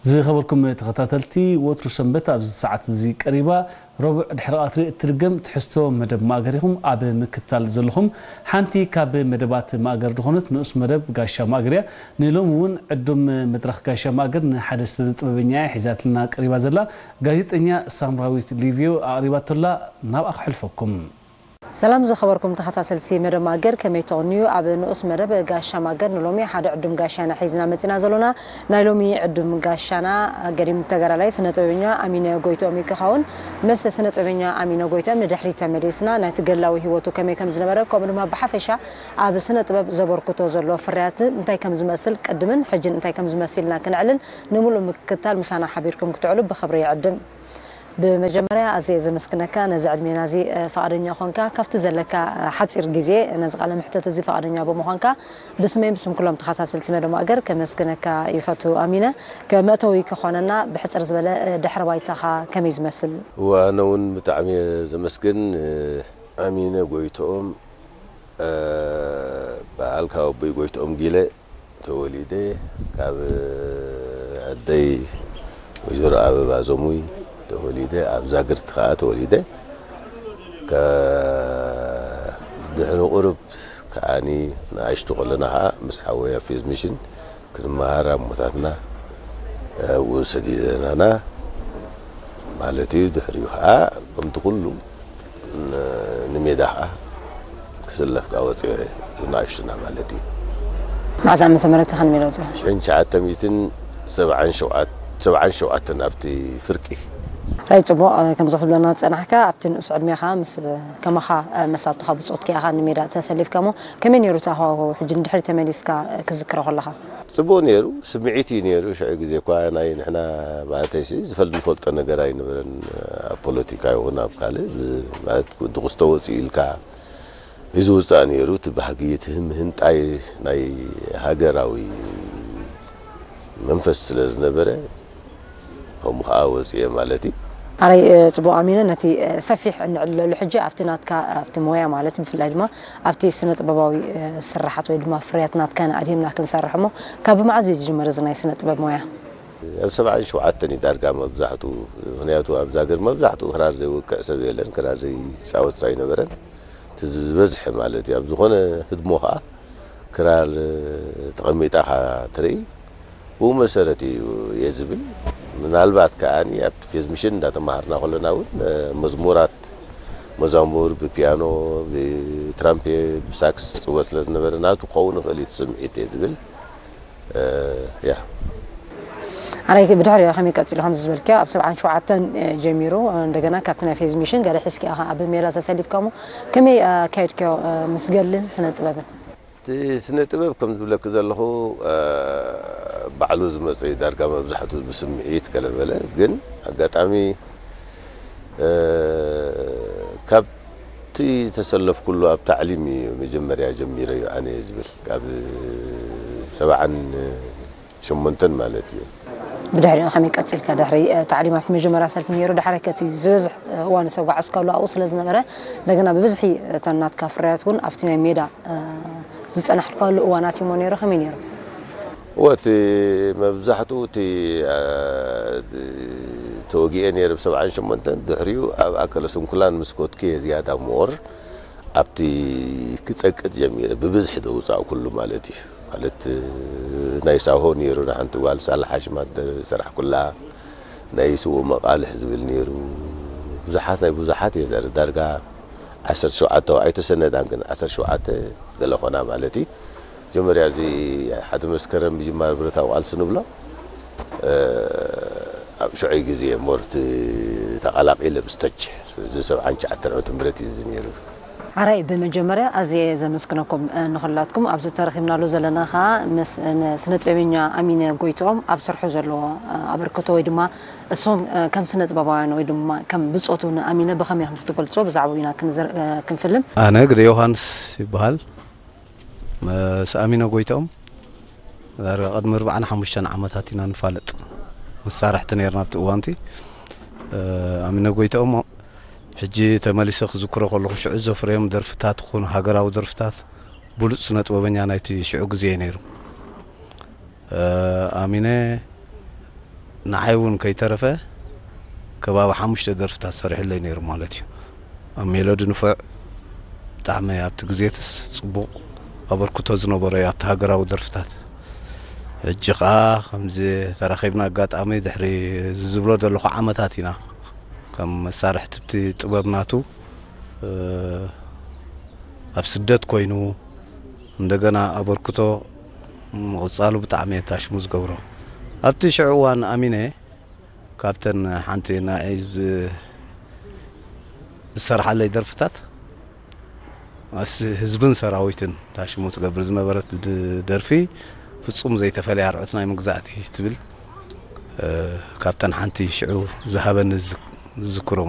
ዝኸበርኩም ተኸታተልቲ፣ ወትሩ ሰንበት ኣብዚ ሰዓት እዚ ቀሪባ፣ ረቡዕ ድሕሪ ቀትሪ እትድገም ትሕዝቶ መደብ ማእገር ኢኹም ኣብ ምክትታል ዘለኹም። ሓንቲ ካብ መደባት ማእገር ዝኾነት ንኡስ መደብ ጋሻ ማእገር እያ። ንሎሚ እውን ዕዱም መድረኽ ጋሻ ማእገር ንሓደ ስነ ጥበበኛ እያ ሒዛትልና ቀሪባ ዘላ። ጋዜጠኛ ሳምራዊት ሊቪዮ ኣቕሪባቶላ፣ ናብኣ ክሕልፈኩም። ሰላም ዝኸበርኩም ተኸታተልቲ መደብ ማእገር፣ ከመይ ትቕንዩ? ኣብ ንኡስ መደብ ጋሻ ማእገር ንሎሚ ሓደ ዕዱም ጋሻና ሒዝና መጺና ዘሎና። ናይ ሎሚ ዕዱም ጋሻና ገዲም ተጋዳላይ ስነ ጥበበኛ ኣሚነ ጎይትኦም እዩ ክኸውን። ምስ ስነ ጥበበኛ ኣሚነ ጎይትኦም ንድሕሪት ተመሊስና ናይቲ ገድላዊ ህይወቱ ከመይ ከም ዝነበረ፣ ከምኡ ድማ ብሓፈሻ ኣብ ስነ ጥበብ ዘበርክቶ ዘሎ ፍርያት እንታይ ከም ዝመስል ቅድምን ሕጅን እንታይ ከም ዝመስል ኢልና ክነዕልል፣ ንምሉእ ምክትታል ምሳና ሓቢርኩም ክትውዕሉ ብኽብሪ ይዕድም። ብመጀመርያ ኣዝየ ዘመስግነካ ነዚ ዕድሜና እዚ፣ እ፣ ፍቓደኛ ኾንካ፣ ካብቲ ዘለካ፣ እ፣ ሓጺር ግዜ ነዚ ቃለ መሕተት እዚ ፍቓደኛ ብምዃንካ ብስመይን ብስም ኩሎም ተኸታተልቲ መደብ ማእገር ከመስግነካ ይፈቱ። ኣሚነ፣ ከመእተዊ ክኾነና ብሕጽር ዝበለ፣ እ፣ ድሕረ ባይታኻ ከመይ ዝመስል? እወ፣ ኣነ እውን ብጣዕሚ እየ ዘመስግን፣ እ፣ ኣሚነ ጎይትኦም፣ እ፣ በዓል ካብ ኣቦይ ጎይትኦም ጊለ ተወሊደ፣ ካብ ኣደይ ወይዘሮ ኣበባ ዘሙይ ተወሊደ፣ ኣብ ዛግርት ከኣ ተወሊደ። ከ-፣ ድሕሪ ቁሩብ ከኣኒ ንኣሽቱ ከለና ከኣ ምስ ሓወይ ኣብ ፌዝ ሚሽን ክንመሃር ኣቦታትና፣ እ፣ ኣብኡ ሰዲደናና ማለት እዩ። ድሕሪኡ ከኣ ከምቲ ኩሉ ን-፣ ንሜዳ ከኣ ክስለፍ ከኣ ወጺኤ፣ ብንኣሽቱና ማለት እዩ። መዓዝ ዓመተ ምህረት ኢኻ ንሜዳ ወጺእካ? ሽሕን ትሽዓተ ሚእትን ሰብዓን ሸውዓተ፣ ሰብዓን ሸውዓተን ኣብቲ ፍርቂ። ራይ ጽቡቕ፣ እ፣ ከምዚ ክትብለና ዝጸናሕካ፣ ኣብቲ ንኡስ ዕድሜኻ ምስ፣ እ፣ ከማኻ፣ እ፣ መሳቱኻ ብጾትካ ኢኻ ንሜዳ ተሰሊፍካ እሞ፣ ከመይ ነይሩ እቲ ሃዋህው? ሕጂ ንድሕሪት ተመሊስካ፣ እ፣ ክትዝክሮ ከለኻ? ጽቡቕ ነይሩ፣ ስምዒት እዩ ነይሩ። ሽዑ ግዜ እኳ ናይ ንሕና ማለተይሲ ዝፈል-፣ ዝፈልጦ ነገር ኣይነበረን። ኣብ ፖለቲካ ይኹን ኣብ ካልእ ብ-፣ ማለት ድቑስቶ ወጺኡ ኢልካ እዩ ዝውጻእ ነይሩ። እቲ ባህጊ፣ እቲ ህም-፣ ህንጣይ ናይ ሃገራዊ መንፈስ ስለ ዝነበረ፣ ከምኡ ኸዓ ወጺኤ ማለት እዩ። ኣረይ፣ እ፣ ጽቡቕ ኣሚነ፣ ነቲ፣ እ፣ ሰፊሕ እንዕልለሉ ሕጂ ኣብቲ ናትካ፣ ኣብቲ ሞያ ማለት ብፍላይ ድማ ኣብቲ ስነ ጥበባዊ፣ እ፣ ስራሓት ወይ ድማ ፍርያት ናትካ ንኣድሂምና ክንሰርሕ እሞ፣ ካብ መዓዝ እዩ ዝጅምር እዚ ናይ ስነ ጥበብ ሞያ? ኣብ ሰብዓን ሸውዓተን እዩ ዳርጋ መብዛሕትኡ፣ ምኽንያቱ ኣብዛ ሃገር መብዛሕትኡ ክራር ዘይወቅዕ ሰብ የለን፣ ክራር ዘይጻወት ኣይነበረን። እቲ ዝበዝሐ ማለት እዩ። ኣብ ዝኾነ ህድሞ ኸዓ ክራር ተቐሚጣ ኸዓ ትርኢ፣ ብኡ መሰረት እዩ እየ ዝብል። ምናልባት ከኣኒ ኣብቲ ፌዝ ሚሽን እንዳተማሃርና ከለና እውን፣ እ፣ መዝሙራት፣ መዛሙር ብፒያኖ፣ ብትራምፔት፣ ብሳክስ ዝጽወት ስለ ዝነበረ ናቱ ክኸውን ይኽእል እዩ እቲ ስምዒት እየ ዝብል። እ፣ ያ። ኣራይ ብድሕሪኡ ከመይ ቀጺሉ ከምዚ ዝበልክዮ ኣብ ሰብዓን ሸውዓተን፣ እ፣ ጀሚሩ፣ እ፣ እንደገና ካብቲ ናይ ፌዝ ሚሽን ገለ ሒዝክዮ ኢኻ ኣብ ሜዳ ተሰሊፍካ እሞ ከመይ ኣካየድክዮ፣ እ፣ ምስ ገድልን ስነ ጥበብን? እቲ ስነ ጥበብ ከም ዝብለኪ ዘለኹ፣ እ፣ ባዕሉ ዝመጸ እዩ። ዳርጋ መብዛሕትኡ ብስምዒት ገለ በለ፣ ግን ኣጋጣሚ፣ እ፣ ካብቲ ተሰለፍኩሉ ኣብ ታዕሊም እዩ መጀመርያ ጀሚረዮ ኣነ ዝብል፣ ካብ ሰብዓን ሸሞንተን ማለት እዩ። ብድሕሪኡ ከመይ ቀጺልካ? ድሕሪ፣ እ፣ ታዕሊም ኣብቲ መጀመርያ ሰልፊ ነይሩ፣ ድሓር ከቲ ዝበዝሕ፣ እ፣ እዋን ዘጓዓዝካሉ ኣብኡ ስለ ዝነበረ፣ እንደገና ብብዝሒ እተን ናትካ ፍርያት እውን ኣብቲ ናይ ሜዳ፣ እ፣ ዝጸናሕካሉ እዋናት እዩሞ ነይሩ፣ ከመይ ነይሩ? እወ፣ እቲ መብዛሕትኡ እቲ፣ እ፣ ተወጊኤ ነይረ ብ ሰብዓን ሸሞንተን፣ ድሕሪኡ ኣብ ኣከለ ስንኩላን ምስ ኮትኩ እየ ዝያዳ ሞር ኣብቲ ክጸቅጥ ጀሚረ፣ ብብዝሒ ዘውጻእኩሉ ማለት እዩ። ማለት፣ ናይ ሳሆ ነይሩ፣ ንሓንቲ ጓል ሳላ ሓሽማት ዝሰራሕኩላ፣ ናይ ስዉእ መቓልሕ ዝብል ነይሩ። ብዙሓት ናይ ብዙሓት እየ ዘር-፣ ዳርጋ ዓሰርተ ሸውዓተ ኣይተሰነዳን፣ ግን ዓሰርተ ሸውዓተ ገለ ኾና ማለት እዩ። መጀመርያ እዚ ሓደ መስከረም ምጅማር ብረታዊ ቃልሲ ንብሎ፣ እ፣ ኣብ ሽዑይ ግዜ ሞርት ተቐላቒለ ብስተች፣ ስለዚ ሰብዓን ትሽዓተን ዓመተ ምህረት እዩ እዚ ነይሩ። ሓራይ፣ ብመጀመርያ ኣዝየ ዘመስግነኩም፣ እ፣ ንኹላትኩም። ኣብዚ ተረኺብናሉ ዘለና ኸኣ ምስ፣ እ፣ ን-፣ ስነ ጥበበኛ ኣሚነ ጎይትኦም ኣብ ስርሑ ዘለዎ፣ እ፣ ኣበርክቶ ወይ ድማ እሶም፣ እ፣ ከም ስነ ጥበባውያን ወይ ድማ ከም ብጾቱ ንኣሚነ ብኸመይ ኢኹም ክትገልጾ ብዛዕባኡ ኢና ክንዝር-፣ እ፣ ክንፍልም። ኣነ ግደ ዮሃንስ ይበሃል። ምስ ኣሚነ ጎይትኦም ዳርጋ ቅድሚ ኣርባዓን ሓሙሽተን ዓመታት ኢና ንፋለጥ። መሳርሕቲ ነይርና ኣብቲ እዋንቲ። እ፣ ኣሚነ ጎይትኦም ሕጂ ተመሊሰ ክዝክሮ ከለኹ ሽዑ ዘፍረዮም ደርፍታት ይኹን ሃገራዊ ደርፍታት ብሉጽ ስነ ጥበበኛ ናይቲ ሽዑ ግዜ እዩ ነይሩ። እ፣ ኣሚነ ንዓይ እውን ከይተረፈ ከባቢ ሓሙሽተ ደርፍታት ሰሪሕለይ ነይሩ ማለት እዩ። ኣብ ሜሎዲ ንፉዕ፣ ብጣዕሚ ኣብቲ ግዜትስ ጽቡቕ ኣበርክቶ ዝነበሮ እዩ ኣብቲ ሃገራዊ ደርፍታት። ሕጂ ኸኣ ከምዚ ተራኺብና ኣጋጣሚ ድሕሪ እዚ ዝብሎ ዘለኹ ዓመታት ኢና ከም መሳርሕቲ እቲ ጥበብ ናቱ፣ እ፣ ኣብ ስደት ኮይኑ እንደገና ኣበርክቶ ምቕጻሉ ብጣዕሚ እየ ታሽሙ ዝገብሮ። ኣብቲ ሽዑ እዋን ኣሚነ ካብተን ሓንቲ ናይ ዝ-፣ ዝሰርሓለይ ደርፍታት ኣስ-፣ ህዝብን ሰራዊትን ታሽሙ ትገብር ዝነበረት ድ-፣ ደርፊ ፍጹም ዘይተፈለየ ኣርዑት ናይ መግዛእቲ ትብል፣ እ፣ ካብተን ሓንቲ ሽዑ ዝሃበኒ ዝዝ-፣ ዝዝክሮ